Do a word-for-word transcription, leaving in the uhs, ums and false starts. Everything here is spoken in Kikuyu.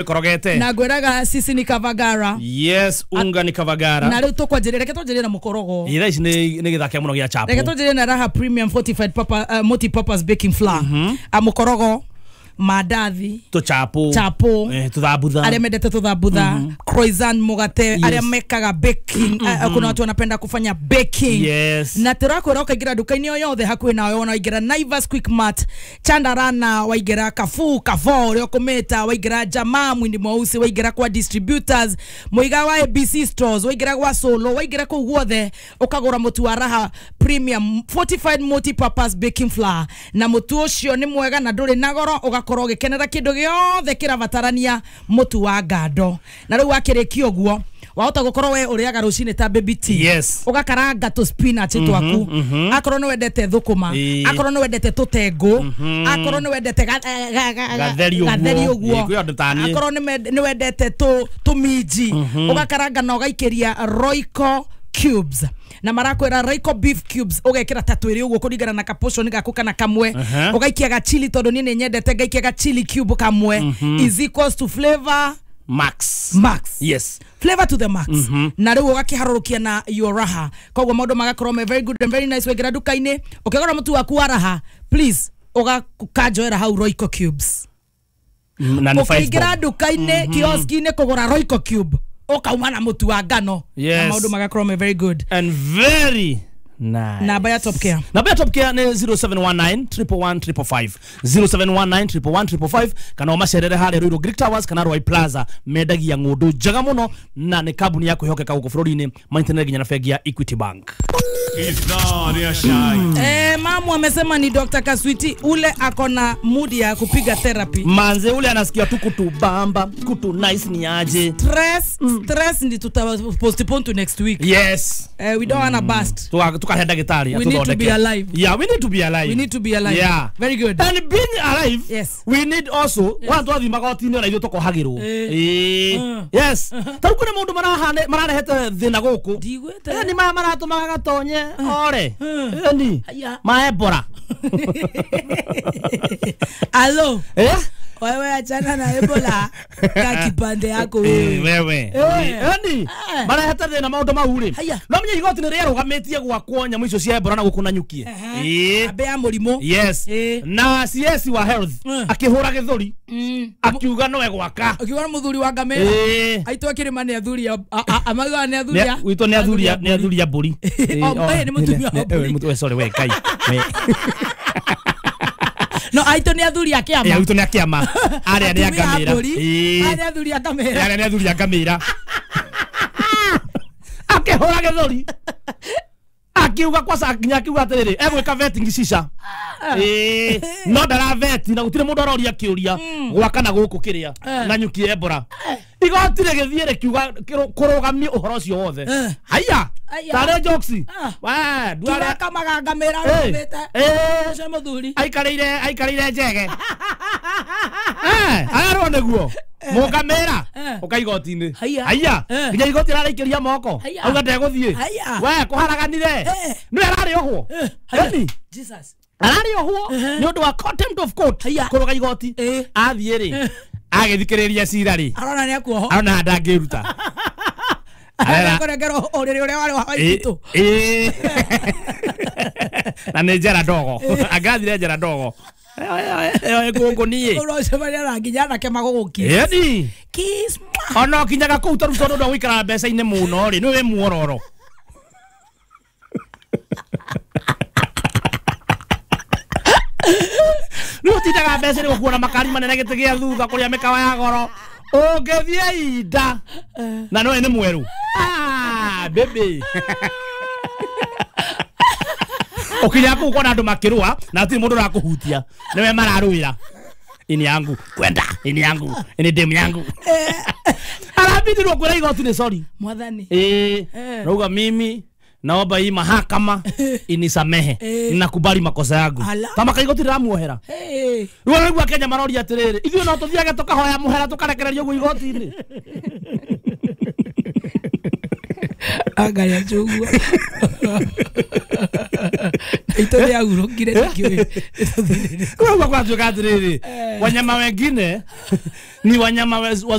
Korogete. Na ngwiraga sisi ni Kavagara. Yes, unga ni Kavagara. Na riu tukwanjirira, reke twanjirire na mukorogo. Ira ici ni ni githaka muno gia chapo. Reke twanjirire na Raha Premium Fortified Papa uh, Multi Purpose Baking Flour. Mm -hmm. A mukorogo, mandathi, tuchapo, chapo, eh, tuthambutha, aria mendete tuthambutha, mm -hmm. croissant, mugate, yes. Aria mekaga baking, mm -hmm. uh, kuna watu wanapenda kufanya baking. Yes. Na turakwira ukaingira duka-ini o yothe hakuhi nawe, wona waingira Naivas, Quickmart, Chandarana, waingira Carrefour, Carrefour uria ukumita, waingira Jamaa Mwindi Mweusi, waingira kwa distributors, muiga wa A B C stores, waingira gwa Solo, waingira kuu guothe ukagura mutu wa Raha Premium Fortified Multi Purpose Baking Flour. Na mutu ucio ni mwega na nduri na goro, ugakorwo ugikenera kindu giothe kirabatarania mutu wa ngando. Na riu wakirikia uguo wahota gukorwo we uriaga rucini ta baby tea. Yes. Ugakaranga tu spinach mm -hmm, twaku, mm -hmm. Akorwo ni wendete thukuma, akorwo ni wendete tutengu, mm -hmm. Akorwo ni wendete gatheri uguo, akorwo ni wendete tu tuminji, mm -hmm. Ugakaranga na ugaikiria Royco cubes. Na marakwira Royco beef cubes ugekira ta twiri uguo kuringana na kaportion gaku kana kamwe. uh -huh. Ugaikia ga chili tondu ni nyendete ngaikia ga chili cube kamwe. mm -hmm. Is equals to flavor max. Max. Yes. Flavor to the max. Mm -hmm. Na riu ugakiharurukia na your Raha. Koguo maundu magakorwo me very good and very nice. Wengira duka-ini ukigora mutu waku wa Raha, please ugakanjoera hau Royco cubes. Na ni five. Ukaingira duka-ini, mm -hmm. kioski-ini kugura Royco cube, ukauma na mutu wa ngano. Yes. Na maundu magakorwo me very good and very nice. Namba ya Top Care. Namba ya Top Care ni zero seven one nine, triple one, triple five. zero seven one nine, triple one, triple five. Kana umacerere harĩa Ruiru Greek Towers kana Ruai Plaza, mendagia ng'ũndũ njega mũno na nĩ kambuni ya kwĩhokeka gũkũ bũrũri-inĩ, maintanere nginya na bengi ya Equity Bank. Eh, mamu amesema ni Doctor Kaswiti ule akona mood ya kupiga therapy. Manze ule anasikia tu kutubamba, kutu nice ni aje. Stress, mm. stress ndi tuta postpone to next week. Yes. Eh, we don't mm. wanna bust. Tukahe daktari. We need to be alive. Yeah, we need to be alive. We need to be alive. Yeah. Very good. And being alive, yes. We need also yes. Watu wathi magoti-inĩ ona ithuĩ tũkohagĩrwo. Eh. Eh. Yes. Tarĩu kwĩna maũndũ marahane mararehete thĩna gũkũ. Ndigwĩte. Eh, ni maya maratũmaga gatonye ore. Ni. Ma Ebola. Alo. Eh? Wewe achana na Ebola ka kipande yako wewe. Wewe. Eni. Marehete thĩna maũndũ mau rĩ. No menye igoti nĩ rĩarũgamĩtie gwakwo nyamũ icio cia Ebola na gũkũ na nyukie. Eh. Ambe ya mũrimũ. Yes. Na C S wa health akĩhũra gĩthũri. Akiuga no egwaka. Akiuga mũthuri wa ngamĩra. Aitũ akĩrĩma nĩ athuri amaugaga nĩ athuri. Witũ nĩ athuri nĩ athuri a mbũri. Oh, nĩ mũtumia wa mbũri. Sorry we Ngai. No, aitũ nĩ athuri a kĩama. Eh, aitũ nĩ a kĩama. Arĩa nĩ a ngamĩra. Arĩa nĩ athuri a ngamĩra. Arĩa nĩ athuri a ngamĩra. Akĩhũra gĩthũri. Akiuga kwa nginya akiuga atĩrĩrĩ, egwĩka vetting cica. Eh, no ndara vet na gũtirĩ mũndũ aroria kĩũria gwaka na gũkũ kĩrĩa na nyuki Ebola. Igoti rĩgĩthiĩ rĩkiuga kũrũgamia ũhoro ũcio wothe. Haiya. Tarĩ jokes. Wa, nduara kamaga ngamĩra rũmĩte. Eh, ũcio mũthuri. Aikarĩire aikarĩire njege. Eh, ararwo nĩguo. Mũngamĩra ũka igoti-inĩ. Haiya. Nginya igoti raraikĩria moko. Auga ndegũthiĩ. We kũharaganire. Nĩwe ararĩ ohwo. Eni. Jesus. Ararĩ ohwo nĩ ũndũ wa contempt of court kũrũga igoti. Athiĩ rĩ. Agĩthikĩrĩria cira rĩ. Arona nĩ akuoho. Arona ndangĩruta. Arona kũrengerwo ũrĩrĩ ũrĩa warĩ wa waitũ. Ĩĩ. Na nĩ njera ndogo. Angathire njera ndogo. Eh gũkũ niĩ. Ũrocemania na nginya anake magũgũkiss. Ĩni. Kiss. Ona ũkinyaga kũu tarĩu tondũ ndwa gũikara mbeca-inĩ mũno rĩ, nĩ wĩ muororo. Rĩu ũtindaga mbeca-inĩ gũkuona makari manene gĩtĩ gĩa thutha kũrĩa mĩkawa ya goro. Ũngĩthiĩ inda na nĩwe nĩ mwerũ. Ah, baby. Ũkinya kũu ũkona andũ makĩrũa na hatirĩ mũndũ ũrakũhutia. Nĩwe mararũĩra. Ini yangu kwenda, ini yangu, ini demu yangu. Arabidi kwĩra igoti nĩ sorry. Mwathani. Eh, rauga mimi naomba hii mahakama inisamehe. Ninakubali makosa yangu. Kama kaigoti rĩramuohera. Rĩu araigua Kenya maroria atĩrĩrĩ, ithuĩ no tũthiage tũkahoya mũhera tũkarekererio guo igoti-inĩ. Angalia chungwa. Itũ rĩahurũkire nĩkĩũĩ. Koguo gwatuĩka atĩrĩrĩ, wanyama wengine ni wanyama waz-